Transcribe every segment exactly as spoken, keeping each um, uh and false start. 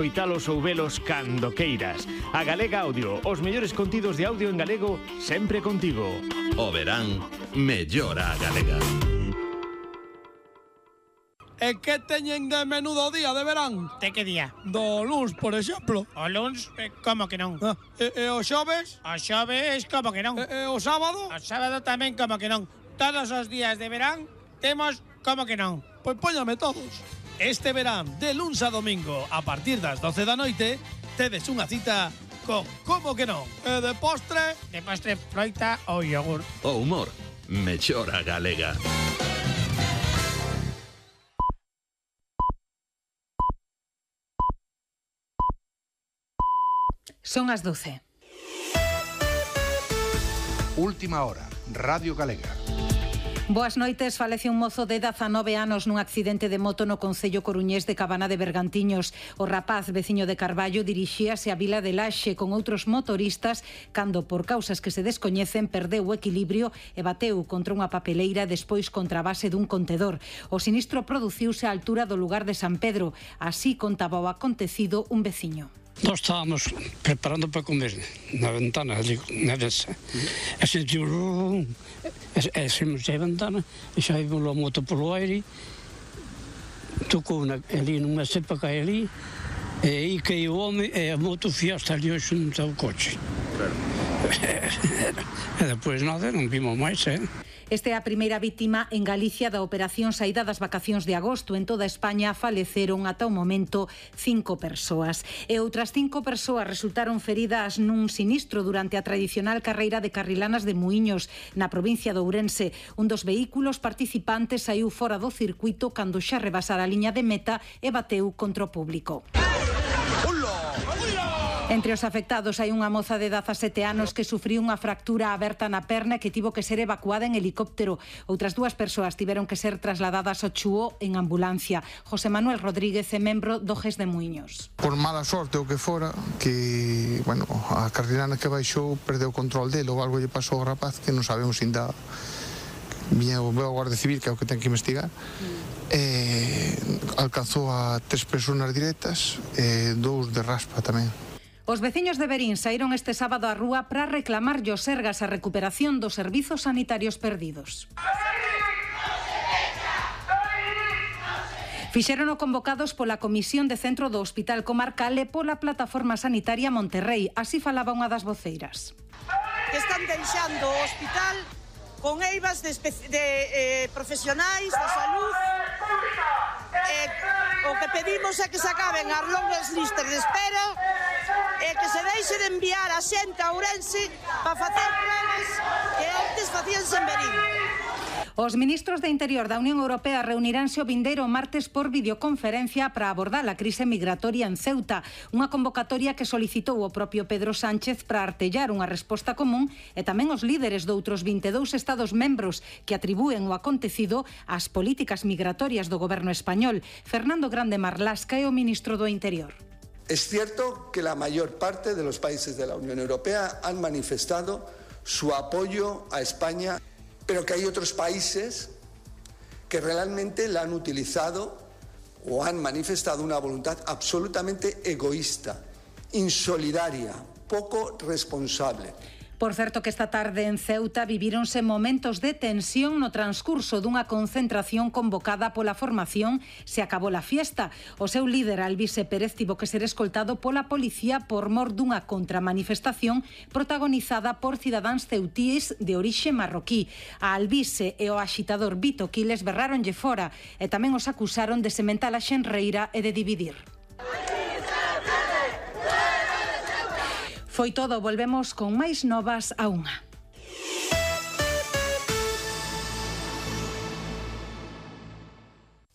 Oitalos ou velos cando queiras. A Galega Audio, os mellores contidos de audio en galego, sempre contigo. O verán, mellora a galega. E que teñen de menudo día de verán? De que día? Do luns, por exemplo. O luns, eh, como que non? Ah, e, e o xoves? O xoves, como que non? E, e o sábado? O sábado tamén, como que non? Todos os días de verán temos como que non? Pois póñame todos. Este verán, de luns a domingo, a partir das doce da noite, tedes unha cita con Como que non? E de postre? De postre, froita ou yogur. O humor, mellora a galega. Son as doce. Última hora, Radio Galega. Boas noites. Falece un mozo de dezanove anos nun accidente de moto no concello coruñés de Cabana de Bergantiños. O rapaz, veciño de Carballo, dirixíase á vila de Laxe con outros motoristas cando, por causas que se descoñecen, perdeu o equilibrio e bateu contra unha papeleira e despois contra a base dun contedor. O sinistro produciuse á altura do lugar de San Pedro. Así contaba o acontecido un veciño. Nós estábamos preparando para comer na ventana, ali, na mesa. E sentiu... E saímos da ventana e xa vimos a moto polo aire, tocou na, ali nunha cepa que hai ali, e aí caiu o home e a moto fiaste ali xunto ao coche. Claro. E depois nada, non vimos máis, eh? Esta é a primeira vítima en Galicia da operación saída das vacacións de agosto. En toda España faleceron ata o momento cinco persoas. E outras cinco persoas resultaron feridas nun sinistro durante a tradicional carreira de carrilanas de Muíños, na provincia de Ourense. Un dos vehículos participantes saiu fora do circuito cando xa rebasara a liña de meta e bateu contra o público. Entre os afectados hai unha moza de dezasete anos que sufriu unha fractura aberta na perna e que tivo que ser evacuada en helicóptero. Outras dúas persoas tiveron que ser trasladadas ao Chuo en ambulancia. José Manuel Rodríguez é membro do G E S de Muíños. Por mala sorte o que fora, que, bueno, a carrilana que baixou perdeu o control dele ou algo lle pasou ao rapaz que non sabemos ainda. Viña o Guardia Civil, que é o que ten que investigar. E alcanzou a tres persoas directas e dous de raspa tamén. Os veciños de Verín saíron este sábado á rúa para reclamar o Sergas a recuperación dos servizos sanitarios perdidos. Fixérono convocados pola Comisión de Centro do Hospital Comarcal e pola Plataforma Sanitaria Monterrey. Así falaba unha das voceiras. Están deixando o hospital con eivas de, de eh, profesionais da salud. Eh, o que pedimos é que se acaben as longas listas de espera e que se deixe de enviar a xente a Ourense para facer pruebas que antes facíanse en Verín. Os ministros de Interior da Unión Europea reuniránse o vindeiro martes por videoconferencia para abordar a crise migratoria en Ceuta, unha convocatoria que solicitou o propio Pedro Sánchez para artellar unha resposta común e tamén os líderes doutros vinte e dous estados membros que atribúen o acontecido ás políticas migratorias do goberno español. Fernando Grande Marlasca é o ministro do Interior. Es cierto que la mayor parte de los países de la Unión Europea han manifestado su apoyo a España, pero que hay otros países que realmente la han utilizado o han manifestado una voluntad absolutamente egoísta, insolidaria, poco responsable. Por certo que esta tarde en Ceuta vivíronse momentos de tensión no transcurso dunha concentración convocada pola formación Se acabou la fiesta. O seu líder, Albise Pérez, tivo que ser escoltado pola policía por mor dunha contramanifestación protagonizada por cidadáns ceutíes de orixe marroquí. A Albise e o axitador Vito Quiles berráronlle fora e tamén os acusaron de sementar a xenreira e de dividir. Foi todo, volvemos con máis novas a unha.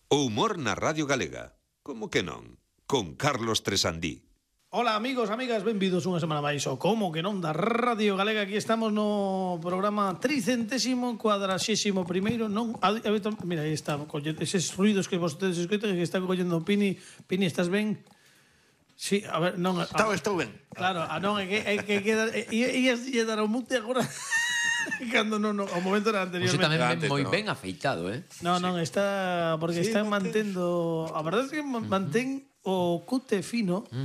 O humor na Radio Galega. Como que non? Con Carlos Tresandí. Ola amigos, amigas, benvidos unha semana máis ao Como que non da Radio Galega. Aquí estamos no programa tricentésimo cuadraxésimo primeiro. Non, mira, aí está, eses ruidos que vostedes escoitan que está collendo Pini. Pini, estás ben? Sí, a ver, non... Estou, estou ben. Claro, a non, é que, é que queda... Ias lle dar o mute agora... Cando non, non, o momento era anteriormente. Você tamén ven moi ben afeitado, eh? Non, non, está... Porque sí, está mantendo... A verdade é que mantén o cute fino